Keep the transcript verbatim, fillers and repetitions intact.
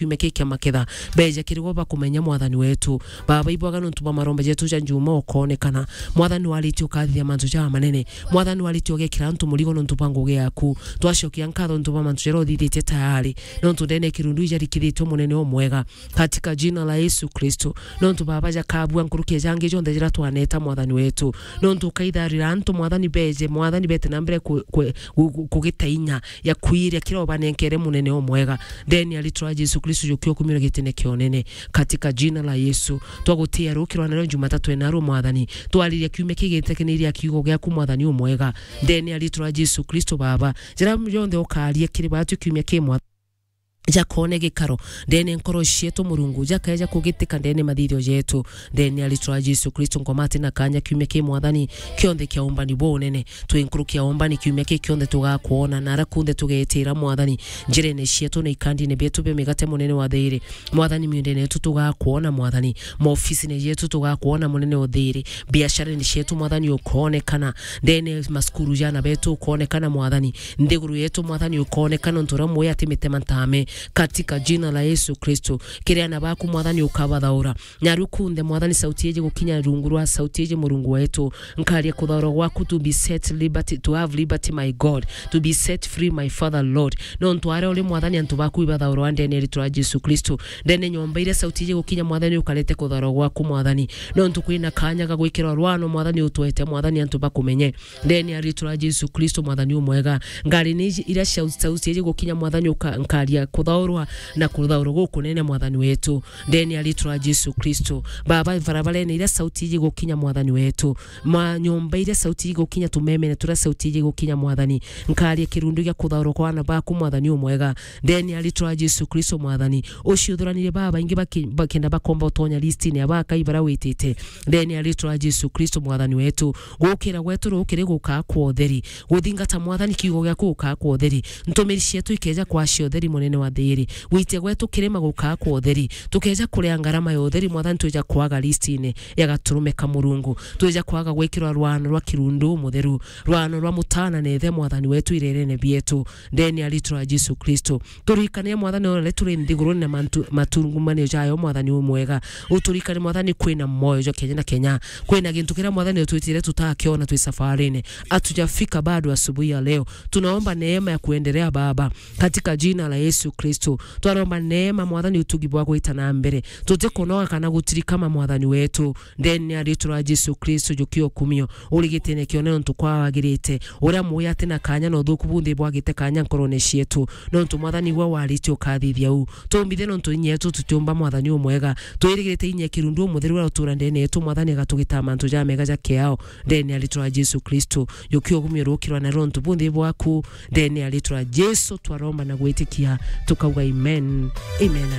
kiumia kii kia maketha, beeja kiri gwe bakumenya, Mwathani wetu. Baba, ibwaga nontu bwa maromba jetu ja njuma ukoonekana. Mwathani, waritie ukathithia mantu ja manene. Mwathani, waritie ugekira antu murigo nontu bwa ngugi yaku. Twacokia nkatho nontu bwa mantu jaria uthithitie tayari. Nontu ndene ya kirundu ijarikithitue, Munene umwega. Katika jina la Yesu Kristo. Nontu, Baba, jakabua nkuruki ya jangi jonthe jiria twaneta, Mwathani wetu. Nontu ukaitharira antu, Mwathani, beeje, Mwathani, bete na mbere ku-, ku-, ku-, ku-, kugita inya ya kwiria kiria ubanenkere, Munene umwega. Ndene ya ritwa ria Jesu Kristo, jukia ukumire gitine kia unene. Katika jina la Yesu, twagutia rukirwa nario Jumatatu ena ru, Mwathani. Twariria kiumia kigite kiniria kiugo giaku, Mwathani umwega. Ndene ya ritwa ria Jesu Kristo, Baba, jaria jonthe ukaria kiri batu kiumia ki, Mwathani, jakone gikaro ndene nkoro cietu, Murungu, jakeja kugitika ndene mathithio jetu. Ndene ya ritwa ria Jesu Kristo, ngomate na kanya kiumia ki, Mwathani, kionthe kia umbani bwa unene. Twi nkuruki ya umbani kiumia ki kionthe tugakwona, na ara kunthe tugetira, Mwathani, njirene cietu na ikandine bietu bia migate, Munene wa thiri. Mwathani, miundene yetu tugakwona, Mwathani, maofisine jetu tugakwona, Munene wa thiri, biasharene cietu, Mwathani, ukoonekana, ndene masukuru jana betu ukoonekana, Mwathani, nthiguru yetu, Mwathani, ukoonekana, ntu uria mwi ati mitema ntame, katika jina la Yesu Kristo. Kiri ana baku, Mwathani, ukabathaura. Naru kunthe, Mwathani, sauti iji gukinya rungu rwa sauti iji, Murungu wetu, nkaria kuthaurwa gwaku, to be set liberty, to have liberty, my God, to be set free, my Father, Lord. Nontu aria uri, Mwathani, antu baku ibathaurwa ndene ya ritwa ria Jesu Kristo. Ndene nyomba iria sauti iji gukinya, Mwathani, ukarete kuthaurwa gwaku, Mwathani. Nontu kwina kanya ga gwikirwa rwano, Mwathani, utwete, Mwathani, antu bakumenye. Ndene ya ritwa ria Jesu Kristo, Mwathani umwega. Ngari ni iji, iria sau-, sauti iji gukinya, Mwathani, uka-, nkaria kuthaurwa na kuthaurwa gukunene, Mwathani wetu. Ndene ya ritwa ria Jesu Kristo. Baba, barabarene iria sauti iji gukinya, Mwathani wetu. Ma nyomba iria sauti iji gukinya, tumemene turia sauti iji gukinya, Mwathani. Nkaria kirundu gia kuthaurwa kwa ana baku, Mwathani umwega. Ndene ya ritwa ria Jesu Kristo, Mwathani. Uciuthuranirie baba baingi baki-, bakenda bakomba utonya listine ya bakai baria witite. Ndene ya ritwa ria Jesu Kristo, Mwathani wetu. Gukira gwetu rukiri gukaa kwa utheri. Guthingata, Mwathani, kiugo giaku gukaa kwa utheri. Ntumiri cietu ikeja kwacia utheri, Munene wa thiri. Gwitia gwetu kirima gukaa kwa utheri. Tukeja kuria ngarama ya utheri, Mwathani, twija kwaga listine ya gaturume ka Murungu. Twija kwaga gwikirwa rwano rwa kirundu mutheru, rwano rwa mutana na ithe, Mwathani wetu, irerene bietu. Ndene ya ritwa ria Jesu Kristo. Turikane, Mwathani, ona riria turi nthigurune na mantu-, matungumanio jayo, Mwathani umwega. Uturikane, Mwathani, kwina moyo jwa kenya na kenya. Kwina gintu kiria, Mwathani, utwitire tutakiona twi safarine. Hatujafika bado asubuhi ya leo. Tunaomba neema ya kuendelea, Baba, katika jina la Yesu Kristo. Twaromba neema, Mwathani, utugi bwa gwita na mbere. Tutikunoga kana gutirikama, Mwathani wetu. Ndene ya ritwa ria Jesu Kristo, jukia ukumio, urigitine kione nontu kwa wagirite. Uria mwi ati na kanya na uthuku bunthe bwagite kanya nkorone cietu. Nontu, Mwathani, gwe waritie ukathithia u. Tumbithe nontu inya yetu tutiumba, Mwathani umwega. Twirigirite inya ya kirundu umutheru uria utura ndene yetu, Mwathani, agatugita mantu jamega ja kiao. Ndene ya ritwa ria Jesu Kristo, jukia ukumio rukirwa na nontu bunthe bwaku. Ndene ya ritwa ria Jesu twaromba na gwitikia, tukauga amen. Amen.